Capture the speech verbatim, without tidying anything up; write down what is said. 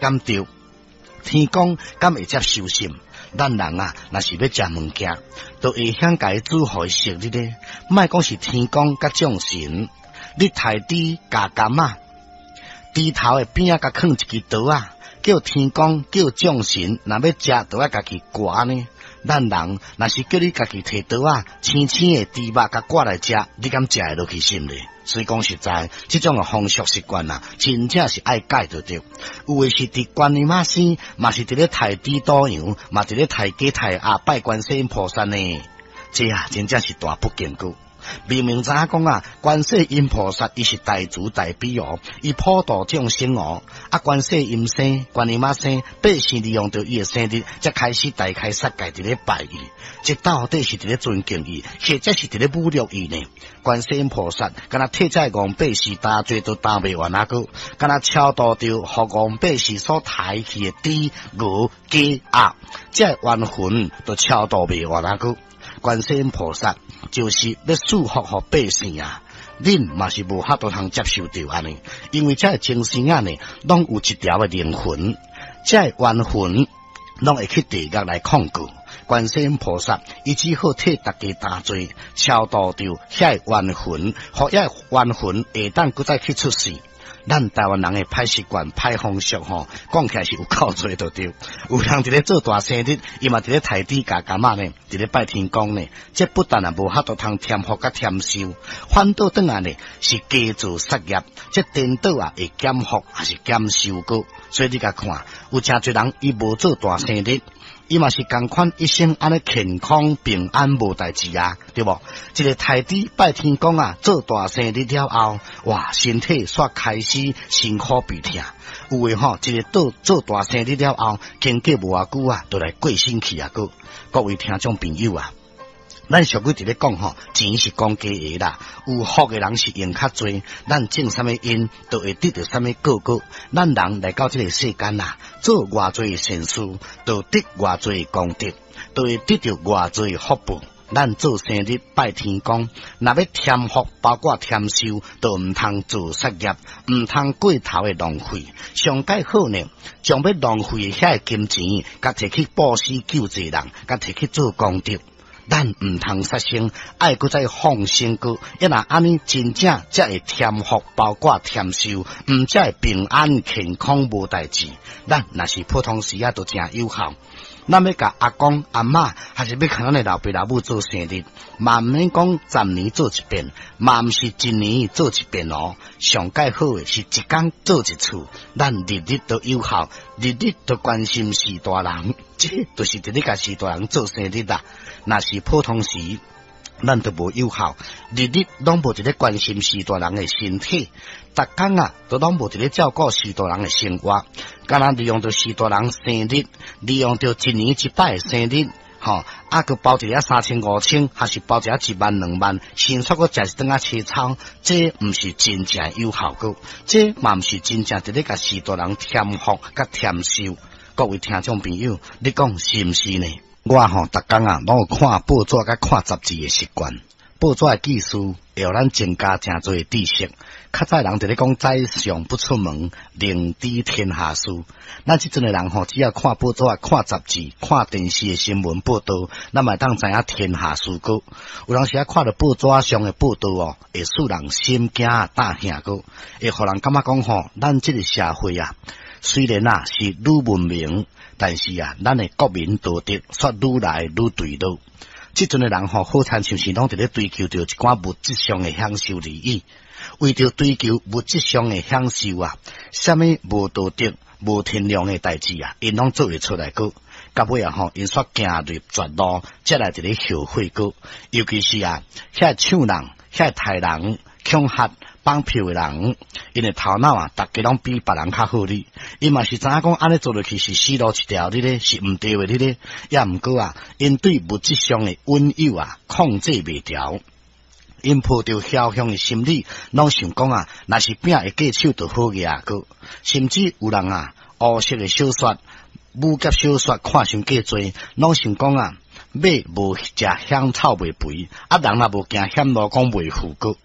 敢著？天公敢會接受信？咱人啊，若是欲食物件，都會曉共伊煮予伊熟哩咧。莫講是天公佮眾神，你刣豬咬柑仔，豬頭的邊仔共囥一支刀仔，叫天公叫眾神，若欲食，都愛家己割呢。咱人若是叫你家己提刀仔，青青的豬肉共割來食，你敢食會落去是毋是？所以講實在，這種的風俗習慣啊，真正是愛改就對。有的是佇觀音媽生，嘛是佇咧刣豬屠羊，嘛佇咧刣雞刣鴨拜觀世音菩薩呢。這啊，真正是大不敬閣。明明知影講啊，觀世音菩薩伊是大慈大悲哦，伊普度眾生哦。啊，觀世音生，觀音媽生，百姓利用著伊的生日，才開始大開殺戒佇咧拜伊，這到底是佇咧尊敬伊，或者是佇咧侮辱伊呢？觀世音菩薩敢若替這戇百姓擔罪都擔袂完啊閣，敢若超度著予戇百姓所刣去的豬、牛、雞、鴨，這冤魂都超度袂完啊閣。觀世音菩薩就是欲賜福予百姓啊！恁嘛是無法度通接受著按呢，因為這個眾生仔呢，攏有一條的靈魂，這個冤魂攏會去地獄來控告。觀世音菩薩伊只好替大家擔罪，超度著遐個冤魂，予遐個冤魂會當閣再去出世。咱台灣人的歹習慣、歹風俗吼，講起來是有夠濟就對。有人佇咧做大生日，伊嘛佇咧刣豬咬柑仔呢，佇咧拜天公呢。這不但啊無法度通添福佮添壽，反倒轉來呢是加做殺業。這顛倒啊會減福還是減壽閣？所以你共看，有誠濟人伊無做大生日，伊嘛是仝款一生按呢健康平安無代誌啊，對無？一个刣豬拜天公啊，做大生日了後，哇，身體煞開始辛苦病痛。有的吼，一个做做大生日了後，經過無偌久啊，就來過身去啊。閣各位聽眾朋友啊，咱俗語佇咧講吼，錢是公家的啦，有福的人是用較濟，咱種啥物因，就會得著啥物果果。咱人來到這个世間啊，做偌濟善事，就得偌濟功德，就會得著偌濟福報。咱做生日拜天公，若欲添福，包括添壽，就毋通做殺業，毋通過頭的浪費。上蓋好呢，將欲浪費的遐个金錢，共提去布施救濟人，共提去做功德。咱毋通殺生，愛閣再放生閣，啊若按呢真正才會添福，包括添壽，毋才會平安健康無代誌。咱若是普通時啊，都誠有效。咱欲共阿公阿嬤，還是欲共咱的老爸老母做生日，嘛毋免講十年做一遍，嘛毋是一年做一遍哦。上蓋好的是一工做一次，咱日日都有效，日日都關心序大人，這就是佇咧共序大人做生日啦。若是普通時，咱都無有效，日日攏無佇咧關心序大人的身體，逐工啊都攏無佇咧照顧序大人的生活，敢若利用著序大人生日，利用著一年一擺的生日，吼，啊，閣包一个三千五千，還是包一个一萬兩萬，先煞閣食一頓仔切操，這毋是真正有效果，這嘛毋是真正佇咧共序大人添福佮添壽。各位聽眾朋友，你講是毋是呢？我吼，逐工啊，攏有看報紙佮看雜誌的習慣。報紙的記事會予咱增加誠濟知識。較早人佇咧講宰相不出門，寧知天下事。咱這陣的人吼，只要看報紙、看雜誌、看電視的新聞報道，咱嘛會當知影天下事閣。有當時啊，看著報紙上的報道哦，會使人心驚膽嚇閣，會予人感覺講吼，咱這个社會啊，雖然啊是愈文明，但是啊，咱的國民道德卻愈來愈墜落。這陣的人吼，好親像是攏佇咧追求著一寡物質上的享受利益，為著追求物質上的享受啊，啥物無道德、無天良的代誌啊，𪜶攏做會出來閣。到尾啊吼，𪜶煞行入絕路，才來佇咧後悔閣。尤其是啊，遐搶人、遐刣人、恐嚇綁票的人，𪜶的頭腦啊，逐家攏比別人較好哩。𪜶嘛是知影講按呢做落去是死路一條哩咧，是毋對的哩咧。也毋過啊，𪜶對物質上的擁有啊，控制袂牢。𪜶抱著僥倖的心理，攏想講啊，若是餅會過手就好額閣。甚至有人啊，烏色的小說、武俠小說看傷過濟，攏想講啊，馬無食香草袂肥，啊人若無行險路，講袂富閣。